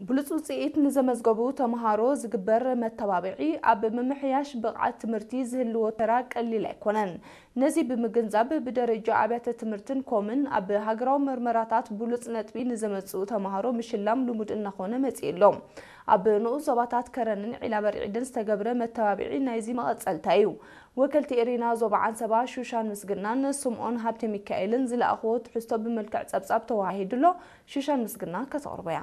ብሉጽ ውጽኢት ንዘመዝገቡ ተምሃሮ ዝግበር መተባብዒ ኣብ ምምሕያሽ ብቕዓት ትምህርቲ ዝህልዎ ተራ ቀሊል ኣይኮነን። ነዚ ብምግንዛብ ብደረጃ ኣብያተ ትምህርትን ኮምን ኣብ ሃገራዊ መርመራታት ብሉጽ ነጥቢ ንዘመጽኡ ተምሃሮ ምሽላም ልሙድ እናኾነ መጺኡ ኣሎ። ኣብ ንኡስ ዞባታት ከረንን ዒላበርዒድን ዝተገብረ መተባብዒ ናይዚ መቐጸልታ እዩ። ወከልቲ ኤሪና ዞባ ዓንሰባ ሹሻን ምስግናን ስምኦን ሃብተ ሚካኤልን ዝለኣኽዎ ትሕዝቶ ብመልክዕ ጸብጻብ ተዋሂዱ ኣሎ። ሹሻን ምስግና ከተቕርቦ እያ።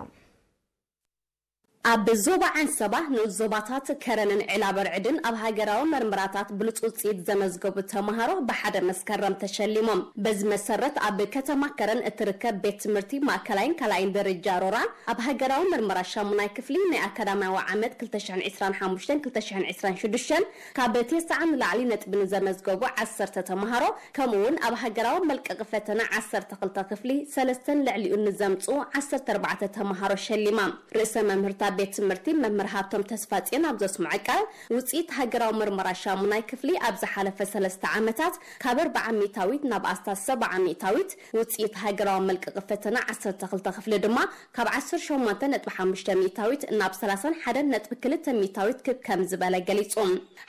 ኣብ ዞባ ዓንሰባ ንኡስ ዞባታት ከረንን ዒላበርዕድን ኣብ ሃገራዊ መርመራታት ብሉጽ ውጽኢት ዘመዝገቡ ተምሃሮ ብሓደ መስከረም ተሸሊሞም። በዚ መሰረት ኣብ ከተማ ከረን እትርከብ ቤት ትምህርቲ ማእከላይን ካልኣይን ደረጃ ሮራ ኣብ ሃገራዊ መርመራ ሻሙናይ ክፍሊ ናይ ኣካዳሚያዊ ዓመት ክልተ ሽሕን ዕስራን ሓሙሽተን ክልተ ሽሕን ዕስራን ሽዱሽተን ካብ ተስዓ ንላዕሊ ነጥቢ ንዘመዝገቡ ዓሰርተ ተምሃሮ፣ ከምኡ እውን ኣብ ሃገራዊ መልቀቂ ፈተና ዓሰርተ ክልተ ክፍሊ ሰለስተን ልዕሊኡን ንዘምጽኡ ዓሰርተ ኣርባዕተ ተምሃሮ ሸሊማ። ርእሰ መምህርታ ቤት ትምህርቲ መምህር ሃብቶም ተስፋጽዮን ኣብ ዘስምዖ ቃል፣ ውጽኢት ሃገራዊ መርመራ ሻሙናይ ክፍሊ ኣብ ዝሓለፈ ሰለስተ ዓመታት ካብ ኣርብዓ ሚእታዊት ናብ ኣስታት ሰብዓ ሚእታዊት፣ ውጽኢት ሃገራዊ መልቀቂ ፈተና ዓሰርተ ክልተ ክፍሊ ድማ ካብ ዓሰርተ ሸሞንተ ነጥቢ ሓሙሽተ ሚእታዊት ናብ ሰላሳን ሓደን ነጥቢ ክልተ ሚእታዊት ክብ ከም ዝበለ ገሊጹ።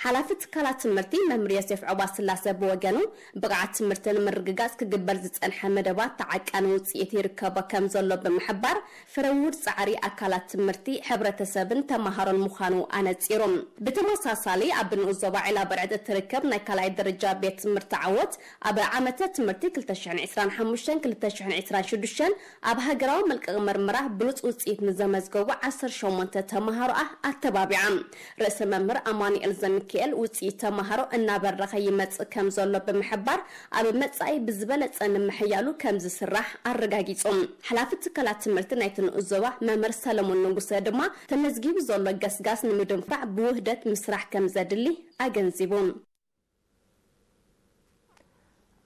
ሓላፊ ትካላት ትምህርቲ መምህር ዮሴፍ ዑባስላሰ ብወገኑ፣ ብቕዓት ትምህርቲ ንምርግጋጽ ክግበር ዝጸንሐ መደባት ተዓቃኒ ውጽኢት ይርከቦ ከም ዘሎ ብምሕባር፣ ፍረ ውሁድ ጻዕሪ ኣካላት ትምህርቲ፣ ሕብረተሰብን ተመሃሮን ምዃኑ ኣነጺሩ። ብተመሳሳሊ፣ ኣብ ንኡስ ዞባ ዒላ በርዕድ እትርከብ ናይ ካልኣይ ደረጃ ቤት ትምህርቲ ዓወት፣ ኣብ ዓመተ ትምህርቲ ክልተ ሽሕን ዕስራን ሓሙሽተን ክልተ ሽሕን ዕስራን ሽዱሽተን ኣብ ሃገራዊ መልቀቂ መርመራ ብሉጽ ውጽኢት ንዘመዝገቡ ዓሰርተ ሸሞንተ ተመሃሮኣ ኣተባቢዓ። ርእሰ መምህር ኣማኑኤል ዘሚካኤል፣ ውጽኢት ተመሃሮ እናበረኸ ይመጽእ ከም ዘሎ ብምሕባር፣ ኣብ መጻኢ ብዝበለጸ ንምሕያሉ ከም ዝስራሕ ኣረጋጊጹ። ሓላፊ ትካላት ትምህርቲ ናይቲ ንኡስ ዞባ መምህር ሰለሞን ንጉሰ ድማ፣ ተመዝጊቡ ዘሎ ገስጋስ ንምድንፋዕ ብውህደት ምስራሕ ከም ዘድሊ ኣገንዚቡ።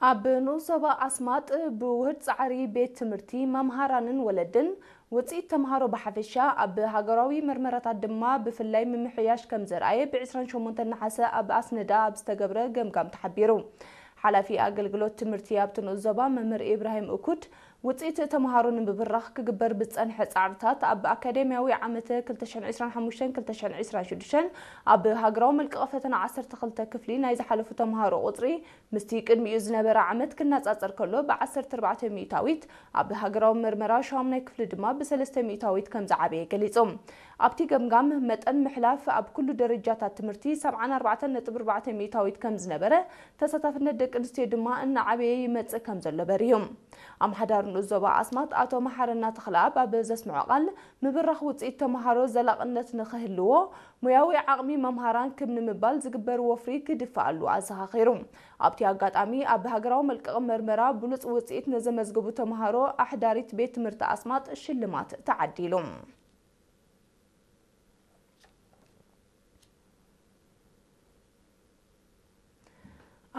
ኣብ ንኡስ ዞባ ኣስማጥ ብውህድ ጻዕሪ ቤት ትምህርቲ፣ መምሃራንን ወለድን፣ ውጽኢት ተምሃሮ ብሓፈሻ፣ ኣብ ሃገራዊ መርመራታት ድማ ብፍላይ ምምሕያሽ ከም ዘርኣየ ብ ዕስራን ሸሞንተን ነሓሰ ኣብ ኣስነዳ ኣብ ዝተገብረ ገምጋም ተሓቢሩ። ሓላፊ ኣገልግሎት ትምህርቲ ኣብቲ ንኡስ ዞባ መምህር ኢብራሂም እኩድ፣ ውጽኢት ተምሃሮ ንምብራኽ ክግበር ብዝጸንሐ ጻዕርታት፣ ኣብ ኣካዳሚያዊ ዓመተ ክልተ ሽሕን ዕስራን ሓሙሽተን ክልተ ሽሕን ዕስራን ሽዱሽተን ኣብ ሃገራዊ መልቀቂ ፈተና ዓሰርተ ክልተ ክፍሊ ናይ ዝሓለፉ ተምሃሮ ቁጽሪ ምስቲ ቅድሚኡ ዝነበረ ዓመት ክነጻጸር ከሎ፣ ብ ዓሰርተ ኣርባዕተ ሚእታዊት፣ ኣብ ሃገራዊ መርመራ ሻሙናይ ክፍሊ ድማ ብ ሰለስተ ሚእታዊት ከም ዝዓበየ ገሊጹ። ኣብቲ ገምጋም፣ መጠን ምሕላፍ ኣብ ኩሉ ደረጃታት ትምህርቲ ሰብዓን ኣርባዕተን ነጥቢ ኣርባዕተ ሚእታዊት ከም ዝነበረ፣ ተሳታፍነት ደቂ ኣንስትዮ ድማ እናዓበየ ይመጽእ ከም ዘሎ በሪሁ። ኣምሓዳር ንኡስ ዞባ ኣስማጥ ኣቶ መሓረና ተኽለኣብ ኣብ ዘስምዖ ቃል፣ ምብራኽ ውጽኢት ተምሃሮ ዘላቕነት ንኽህልዎ፣ ሞያዊ ዓቕሚ መምሃራን ክብ ንምባል ዝግበር ወፍሪ ክድፋኣሉ ኣዘኻኺሩ። ኣብቲ ኣጋጣሚ፣ ኣብ ሃገራዊ መልቀቂ መርመራ ብሉጽ ውጽኢት ንዘመዝገቡ ተምሃሮ ኣሕዳሪት ቤት ትምህርቲ ኣስማጥ ሽልማት ተዓዲሉ።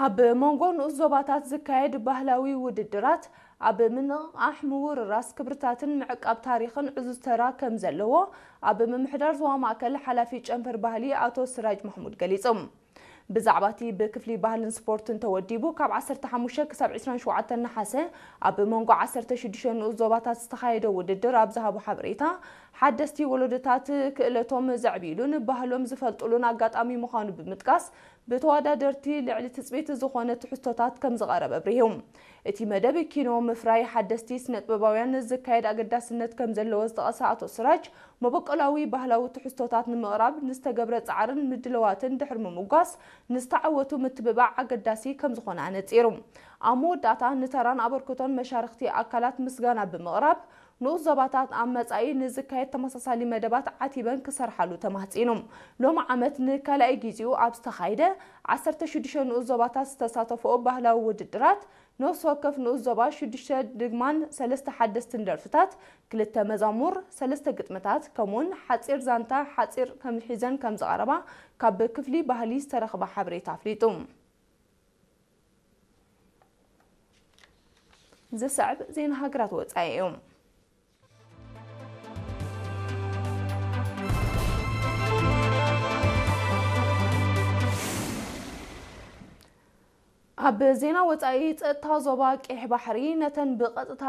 ኣብ መንጎ ንኡስ ዞባታት ዝካየድ ባህላዊ ውድድራት፣ ኣብ ምንቕቓሕ ምውርራስ ክብርታትን ምዕቃብ ታሪኽን ዕዙዝ ተራ ከም ዘለዎ፣ ኣብ ምምሕዳር ዞባ ማእከል ሓላፊ ጨንፈር ባህሊ ኣቶ ስራጅ ማሕሙድ ገሊጹ። ብዛዕባ እቲ ብክፍሊ ባህልን ስፖርትን ተወዲቡ፣ ካብ ዓሰርተ ሓሙሽተ ክሳብ ዕስራን ሸውዓተን ነሓሰ፣ ኣብ መንጎ ዓሰርተ ሽዱሽተ ንኡስ ዞባታት ዝተኻየደ ውድድር ኣብ ዝሃቦ ሓበሬታ፣ ሓደስቲ ወለዶታት ክእለቶም ዘዕብይሉን ባህሎም ዝፈልጥሉን ኣጋጣሚ ምዃኑ ብምጥቃስ፣ ብተወዳደርቲ ልዕሊ ትጽቢት ዝኾነ ትሕዝቶታት ከም ዝቐረበ ኣብሪሁ። እቲ መደብ ኪኖ ምፍራይ ሓደስቲ ስነጥበባውያን ዝካየድ ኣገዳስነት ከም ዘለዎ ዝጠቐሰ ኣቶ ስራጅ፣ መበቆላዊ ባህላዊ ትሕዝቶታት ንምቕራብ ንዝተገብረ ጻዕርን ምድላዋትን ድሕሪ ምምጓስ፣ ንዝተዓወቱ ምትብባዕ ኣገዳሲ ከም ዝኾነ ኣነጺሩ። ኣብ መወዳእታ፣ ንተራን ኣበርክቶን መሻርኽቲ ኣካላት ምስጋና ብምቕራብ፣ ንኡስ ዞባታት ኣብ መጻኢ ንዝካየድ ተመሳሳሊ መደባት ዓቲበን ክሰርሓሉ ተማህጺኑ። ሎሚ ዓመት ንካልኣይ ግዜኡ ኣብ ዝተኻየደ ዓሰርተ ሽዱሽተ ንኡስ ዞባታት ዝተሳተፍኦ ባህላዊ ውድድራት፣ ነፍሲ ወከፍ ንኡስ ዞባ ሽዱሽተ ድግማን ሰለስተ ሓደስትን ደርፍታት፣ ክልተ መዛሙር፣ ሰለስተ ግጥምታት፣ ከምኡውን ሓጺር ዛንታ ሓጺር ከም ሒዘን ከም ዝቐረባ ካብ ክፍሊ ባህሊ ዝተረኽበ ሓበሬታ ኣፍሊጡ። ዝስዕብ ዜና ሃገራት ወጻኢ እዩ። ኣብ ዜና ወጻኢ፣ ጸጥታ ዞባ ቀይሕ ባሕሪ ነተን ብቐጥታ